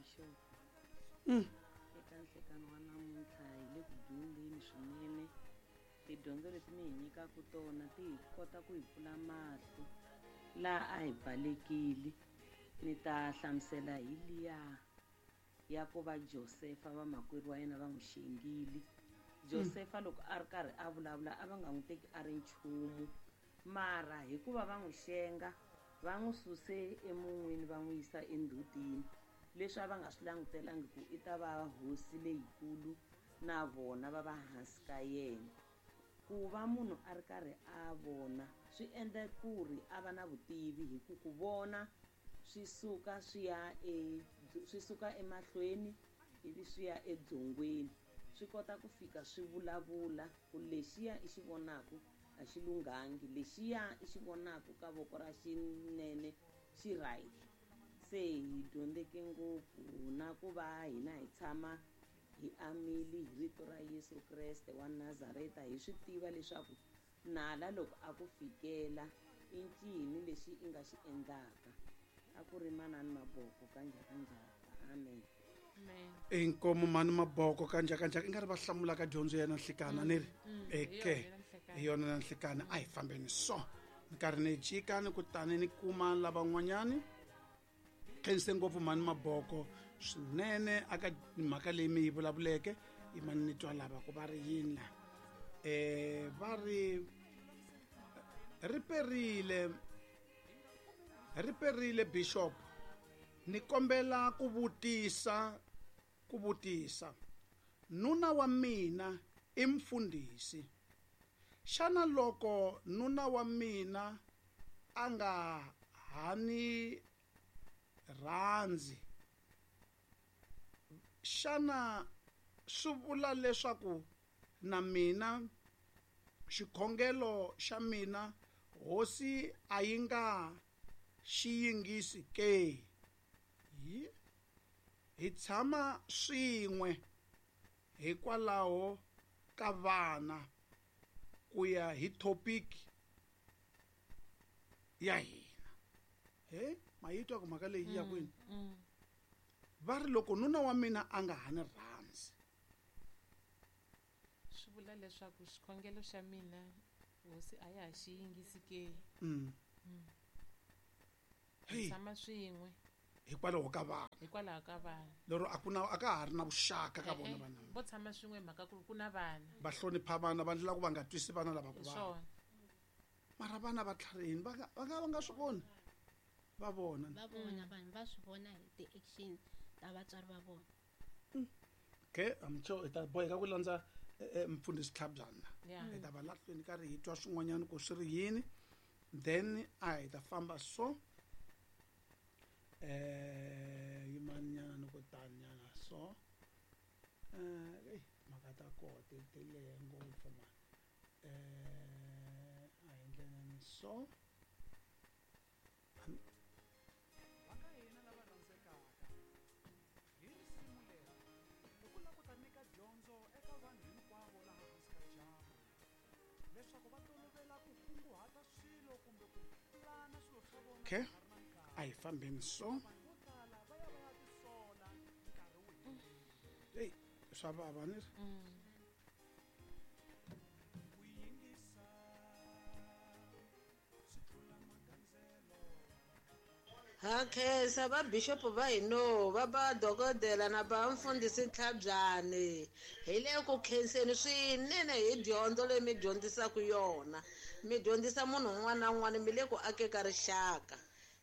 Bishop. Eka nhlekani wa namuntlha hi le ku dyondzeni swinene. Tidyondzo leti mi hi nyikaka tona ti hi kota ku hi pfula mahlo laha a hi pfalekile. Ni ta hlamusela hi liya ya ku va Josefa vamakwerhu wa yena va n'wi xengile. Josefa loko a ri karhi a vulavula a va nga n'wi teki a ri nchumu mara hikuva va n'wi xenga va n'wi suse emun'wini va n'wi yisa endzhutini leswi a va nga swi langutelangi ku i ta va hosi leyikulu na vona va va hansi ka yena. Ku va munhu a ri karhi a vona swi endla ku ri a va na vutivi hi ku ku vona swi suka swi ya e swi suka emahlweni ivi swi ya edzongweni swi kota ku fika swi vulavula ku lexiya i xi vonaku a xi lunghangi lexiya i xi vonaku ka voko ra xinene xi right. Se hi dyondzeke ngopfu na ku va hina hi tshama hi amile hi rito ra Yesu Kreste wa Nazareta hi swi tiva leswaku nala loko a ku fikela i ncini lexi i nga xi endlaka. A ku ri manani Maboko ka Njhakanjhaka. Amen. Inkomu mani Maboko ka Njhakanjhaka i nga ri va hlamula ka dyondzo ya nanhlikana ni ri eke hi yona nanhlikana a hi fambeni so ni karhi ni jika ni kutani ni kuma lavan'wanyani. Khense ngopfu mani Maboko swinene aka mhaka leyi mi yi vulavuleke yi mani ni twa lava ku va ri yini la va ri ri perile ri perile bishop ni kombela ku vutisa ku vutisa nuna wa mina i mfundhisi xana loko nuna wa mina a nga ha ni rhandzi xana swi vula leswaku na mina xikhongelo xa mina hosi a yi nga xi yingisi ke? Hi hi tshama swin'we hikwalaho ka vana ku ya hi topic ya hina. He ma yi twa ku mhaka leyi yi ya kwini? Va ri loko nuna wa mina a nga ha ni rhandzi swi vula leswaku xikhongelo xa mina hosi a ya ha xi yingisi ke? Hi tshama swin'we hikwalaho ka vana hikwalaho ka vana lero a ku na a ka ha ri na vuxaka ka vona vana vo tshama swin'we hi mhaka ku ri ku na vana va hlonipha vana va ndlela ku va nga twisi vana lava ku vava mara vana va tlharihini va nga va nga va nga swi voni va vona va vona vanhu va swi vona hi ti-action ta vatswari va vona. Okay, I'm sure hi ta boheka ku landza mfundhisi Tlhabyana hi ta va lahlweni karhi hi twa swin'wanyana ku swi ri yini then a hi ta famba so yimanyana ni ku tanyana so mhaka ta koho ti ti lehe ngopfu mani a hi ndleleni so. Va ka hina lava rhandzekaka, hi risimu leri i ku lava ku ta nyika dyondzo eka vanhu hinkwavo laha hansi ka dyambu, leswaku va tolovela ku kunguhata swilo kumbe ku pulana swilo swa vona Okay. ka ha ri na nkarhi. A hi fambeni so. Vanhu vo tala va ya va ya tisola nkarhi wu herile. Hey, swa vava ni ri. Ku yingisa swi tlula magandzelo. Ha khensa va bishop va hino va ba dokodela na ba mfundhisi Ntlhabyani hi le ku khenseni swinene hi dyondzo leyi mi dyondzisaka yona mi dyondzisa munhu un'wana na un'wana mi le ku ake ka rixaka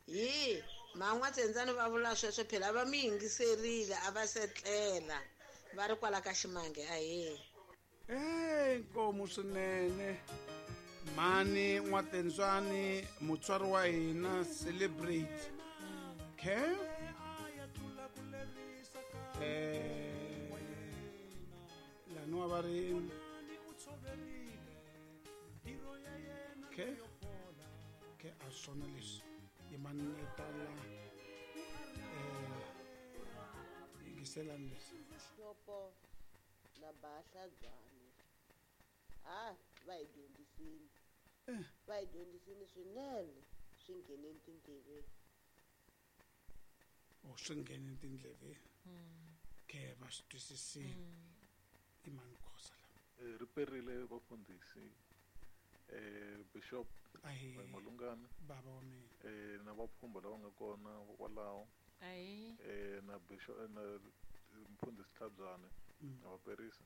hi man'watsendzani va vula sweswo phela va mi yingiserile a va setlela va ri kwala ka ximange ahee. Hey, nkomu swinene mhani N'watentswani mutswari wa hina celebrate okay laniwa va ri okay okay a swona leswi yimani ni tala yingiselani leswi. Na Bahlabyane ha va hi dyondzisini va hi dyondzisini swinene swi ngheneni tindleveni. O swi nghene tindleveni. Ke va swi twisisile. I mani Khosa la? Ri perile vafundhisi, Bishop Malungana, baba wa mina, na vapfhumba lava nga kona kwalaho, na Bishop na Mfundhisi Tlhabyane na vaperisa.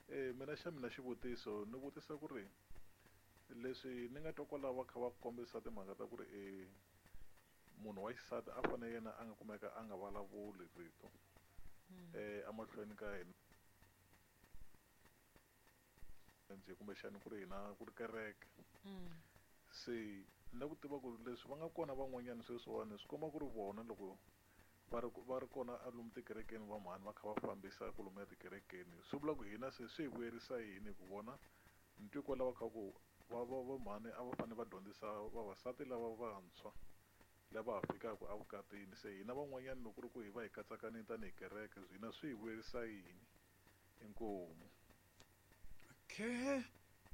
Mina xa mina xivutiso ni vutisa ku ri leswi ni nga twa kwalaho va kha va kombisa timhaka ta ku ri munhu wa xisati a fanele yena a nga kumeka a nga vulavuli rito emahlweni ka hina njhe kumbexani ku ri hina ku ri kereke. Se ni lava ku tiva ku leswi va nga kona van'wanyana sweswiwani swi komba ku ri vona loko va ri kona lomu tikerekeni va mhani va kha va fambisa kwalomuya tikerekeni, swi vula ku hina se swi hi vuyerisa yini ku vona ni twi kwalaho kha ku va va mhani a va fanele va dyondzisa vavasati lava vantshwa lava ha fikaka evukatini. Se hina van'wanyana loko ku ri ku hi va hi katsakanile tanihi kereke, hina swi hi vuyerisa yini? Inkomu. Okay,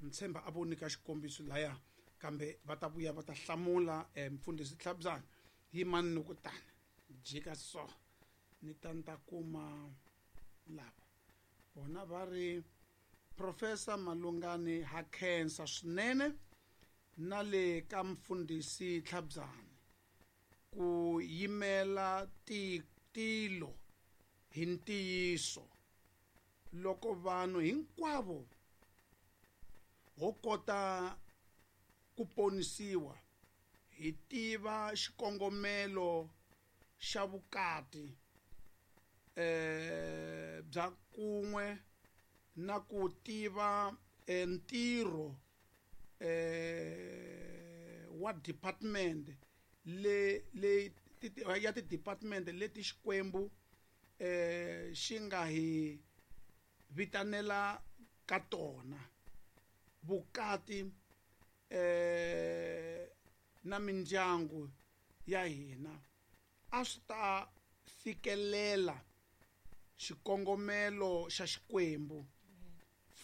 ntshemba a vo nyika xikombiso laya, kambe va ta vuya va ta hlamula. Mfundhisi Tlhabyana, yimani ni ku tani jika so ni ta ni ta kuma lava vona va ri Professor Malungani ha khensa swinene na le ka Mfundhisi Tlhabyana ku yimela tilo hi ntiyiso. Loko vanhu hinkwavo ho kota ku ponisiwa hi tiva xikongomelo xa vukati bya kun'we na ku tiva ntirho wa department le ya ti-department leti Xikwembu xi nga hi vitanela ka tona, vukati na mindyangu ya hina a swi ta fikelela xikongomelo xa Xikwembu.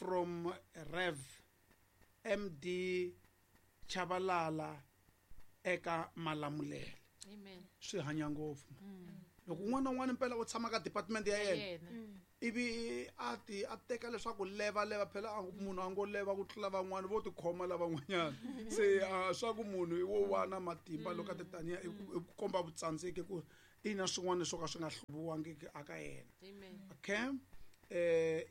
From Rev MD Chabalala eka Malamulele. Amen. Swi hanya ngopfu. Loko un'wana na un'wana mpela u tshama ka department ya yena, ivi a ti a teka leswaku leva leva phela munhu a ngo leva ku tlula van'wana vo tikhoma lavan'wanyana. Se swa ku munhu i wo wana matimba loko a ti taniya i ku komba vutsandzeki ku ina swin'wana swo ka swi nga hluviwangiki aka yena. Okay,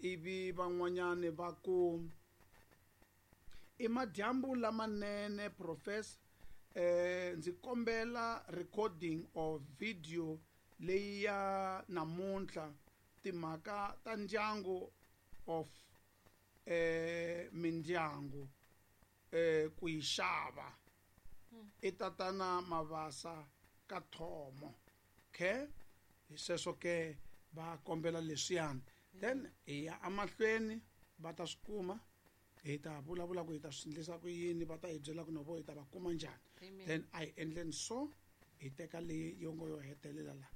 ivi van'wanyani va ku i madyambu lamanene Professor, ndzi kombela recording of video leyi ya namuntlha, timhaka ta ndyangu of mindyangu ku yi xava. I tatana Mavasa ka Thomo. Okay, hi sweswo ke va kombela leswiyani, then hi ya emahlweni va ta swi kuma, hi ta vulavula ku hi ta swi endlisa ku yini, va ta hi byela ku no vo hi ta va kuma njhani. Then a hi endleni so hi teka leyi yo ngo yo hetelela la.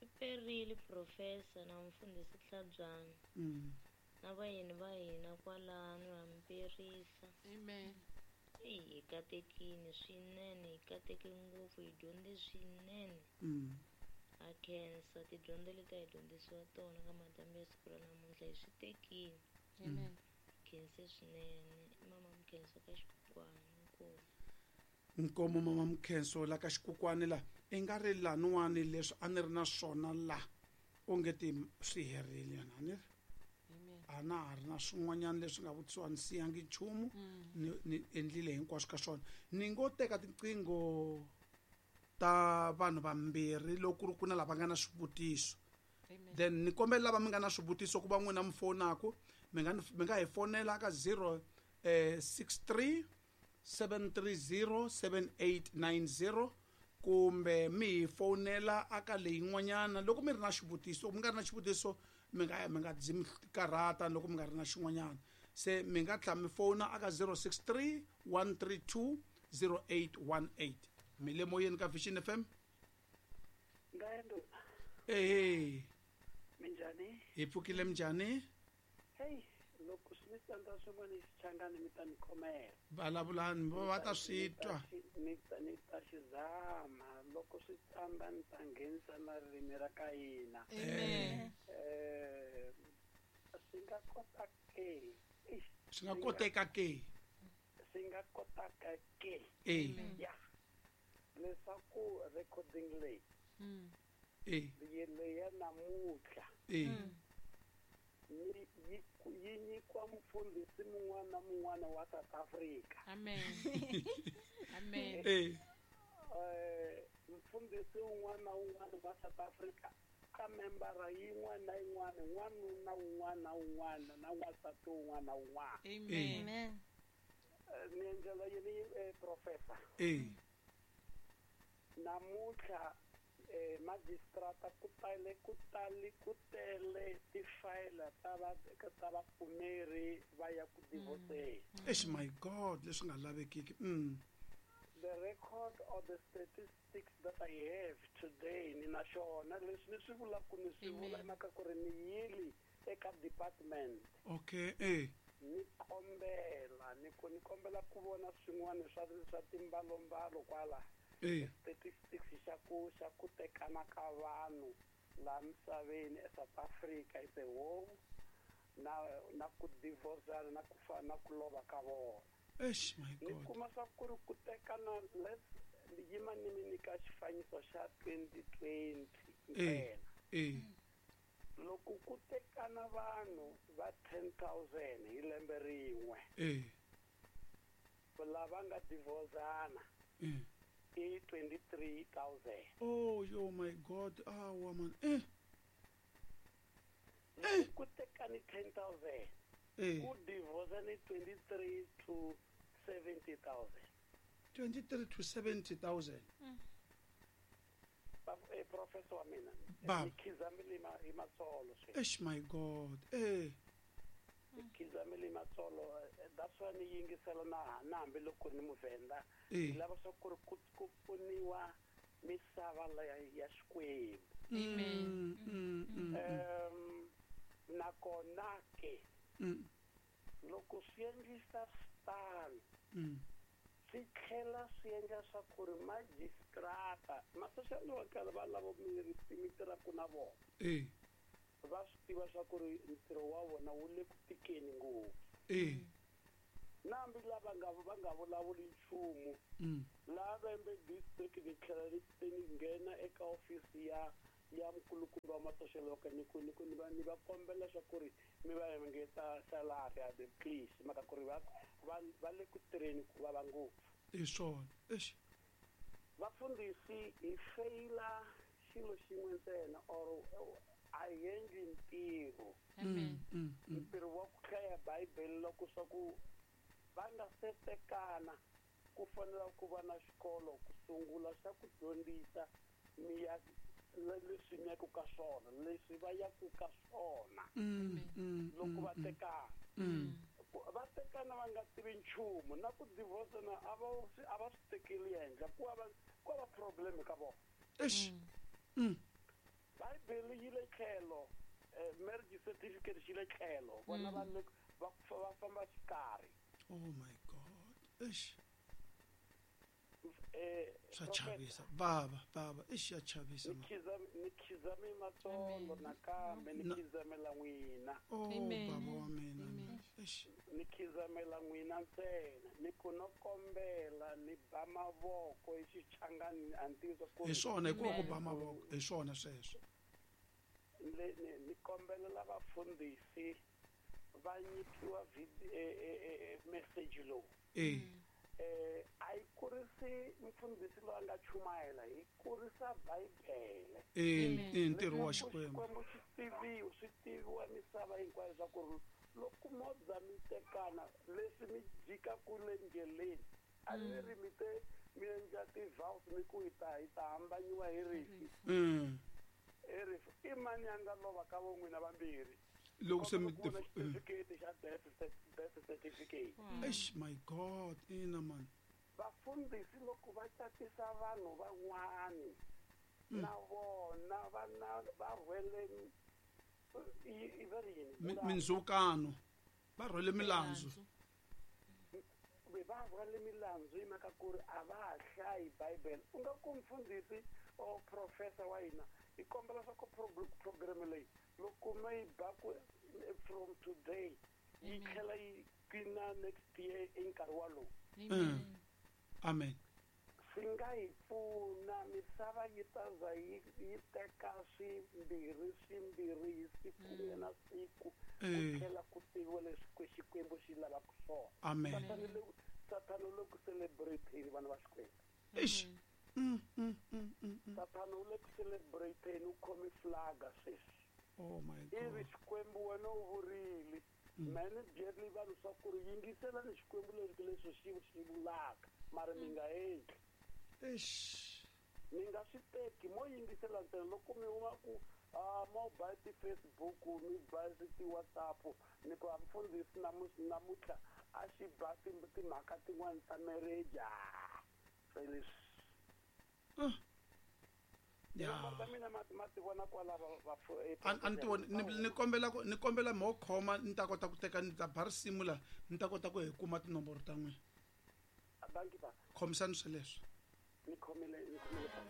Ri perile Professor na Mfundhisi Tlhabyana na vayeni va hina kwalano ha mi perisa. Amen. Hi katekile swinene, hi kateke ngopfu, hi dyondze swinene. Ha khensa tidyondzo leti a hi dyondzisiwa tona ka madyambu ya siku ra namuntlha, hi swi tekile. Amen. Khense swinene mama Mkhenso ka Xikukwani. Inkomu. Nkomo mama Mkhenso la ka Xikukwani la i nga ri laniwani leswi a ni ri na swona la onge ti swi herile yona a ni ri a na ha ri na swin'wanyana leswi nga vutisiwa ni siyangi nchumu, ni endlile hinkwaswo ka swona. Ni ngo teka tiqingho ta vanhu vambirhi loko ku ri ku na lava nga na swivutiso. Then ni kombela lava mi nga na swivutiso ku va n'wina mi fonaku, mi nga hi fonela ka 0 63 730 7890 kumbe mi hi fonela aka leyin'wanyana loko mi ri na xivutiso. Mi nga ri na xivutiso mi nga dzi mi karhata loko mi nga ri na xin'wanyana. Se mi nga tlhela mi fona aka 063 132 0818. Mi le moyeni ka Vision FM. Ehe. Minjhani? Hi pfukile minjhani? Hey, loko swi mi tsandza swin'wana xichangani mi ta ni khomela. Vulavulani va ta swi twa. Ni ta xi zama loko swi tsamba ni ta nghenisa na ririmi ra ka hina. Amen. Swi nga kota ke. Swi nga koteka ke. Swi nga kotaka ke. Ya. Leswaku recording leyi. Leyi ya namuntlha. Yi nyikiwa mufundhisi mun'wana na mun'wana wa South Africa. Amen. Amen. Mufundhisi un'wana na un'wana wa South Africa ka membara yin'wana na yin'wana, n'wanuna un'wana na un'wana na n'wansati un'wana na un'wana. Amen. Ni endlela yini professor? Namuntlha magistrata ku tele tifayila ta vapfumeri va ya ku divorceni. Eish, my God, leswi nga lavekiki. The record or the statistics that I have today ni na xona leswi ni swi vulaka ni swi vula mhaka ku ri ni yili eka department. Okay, Ni kombela ni kombela ku vona swin'wana swa timbalombalo kwala. Statistics xa ku tekana ka vanhu laha misaveni eSouth Africa is a whole na ku divorcana na ku fa na ku lova ka vona. Eish, my God. Ni kuma swa ku ri ku tekana let's yima ni mi nyika xifaniso xa 2020 ntsena. Loko ku tekana vanhu va 10,000 hi lembe rin'we. Lava nga divorcana. I 23,000. Oh, yo, my God. Ah, woman. Ku tekani 10,000. Ku divorce ni 23 to 70,000. 23 to 70,000. Professor wa mina. Ni khizamile hi matsolo sweswi. Eish, my God. Ni khizamile hi matsolo. That's why ni yingisela na hambi loko ni muvhenda. Ni lava swa ku ri ku pfuniwa misava ya Xikwembu. Amen. Nakona ke loko swi endlisa switano swi tlhela swi endla swa ku ri magistrata ma-social worker va lava mi tirhaka na vona va swi tiva swa ku ri ntirho wa vona wu le ku tikeni ngopfu. Na hambi lava va nga vulavuli nchumu laha Vhembe district ni tlhela ni nghena eka ofisi ya mukulukumba wa ma-social worker ni ku ni va kombela swa ku ri mi va engeta salary ya the please mhaka ku ri va le ku tirheni ku vava ngopfu. Hi swona. Eish. Vafundhisi hi feyila xilo xin'we ntsena or a hi endli ntirho. Ntirho wa ku hlaya Bibele loko swa ku va nga se tekana ku fanela ku va na xikolo ku sungula xa ku dyondzisa mi ya leswi mi yaku ka swona leswi va yaku ka swona loko va tekana. Va tekana va nga tivi nchumu na ku divorcana a va swi tekeli henhla ku va problem ka vona. Eish. Bibele yi le tlhelo, marriage certificate xi le tlhelo, vona va va famba xikarhi. Oh my God. Eish. Swa chavisa. Baba, eish ya chavisa. Ni khizame matsolo nakambe ni khizamela n'wina. Oh, baba wa mina. Eish. Ni khizamela n'wina ntsena. Ni ku no kombela ni ba mavoko hi xichangani a ni tivi ku. Hi swona hikuva ku ba mavoko, hi swona sweswo. Ni kombelela vafundhisi va nyikiwa message lowu. A yi kurisi mfundhisi loyi a nga chumayela, yi kurisa Bibele. I ntirho wa Xikwembu. Xikwembu xi tiviwa, swi tiviwa misava hinkwayo swa ku ri loko mo za mi tekana leswi mi jikaku le ndleleni a ni ri mi te mi endla ti-vows mi ku hi ta hambanyiwa hi rifu. Hi rifu. I mani a nga lova ka vo n'wina vambirhi? Loko se mi certificate xa death certificate. Eish, my God, ina man. Vafundhisi loko va catisa vanhu van'wani na vona va rhwele mindzhukano, va rhwele milandzu. Kumbe va rhwale milandzu hi mhaka ku ri a va ha hlayi Bibele. U nga ku mfundhisi or professor wa hina, hi kombela swa ku program leyi loko mi yi ba ku from today yi tlhela yi qina next year i nkarhi walowu. Amen. Swi nga hi pfuna, misava yi ta za yi yi teka swimbirhi swimbirhi hi siku na siku, ku tlhela ku tiviwa leswi Xikwembu xi lavaka swona. Amen. Sathana u le ku celebrate-eni vana va Xikwembu. Eish. Sathana u le ku celebrate-eni, u khome flaga sweswi. Oh my God. Ivi Xikwembu wena u vurile, mehe ni byerile vanhu swa ku ri yingiselani Xikwembu leswi leswi xi xi vulaka, mara mi nga endli. Eish. Mi nga swi teki, mo yingisela ntsena loko mi huma ku mo ba ti-Facebook, mi ba ti-WhatsApp, ni ku a mfundhisi namuntlha a xi ba timhaka tin'wani ta marriage. Se leswi. Tinomboro ta mina ma ti vona kwala va A ni ti voni. Ni kombela ku ni kombela mo khoma, ni ta kota ku teka, ni ta ba risimu la, ni ta kota ku hi kuma tinomboro ta n'wina. Dankie ba. Khomisani sweleswo. Ni khomile, ni khomile.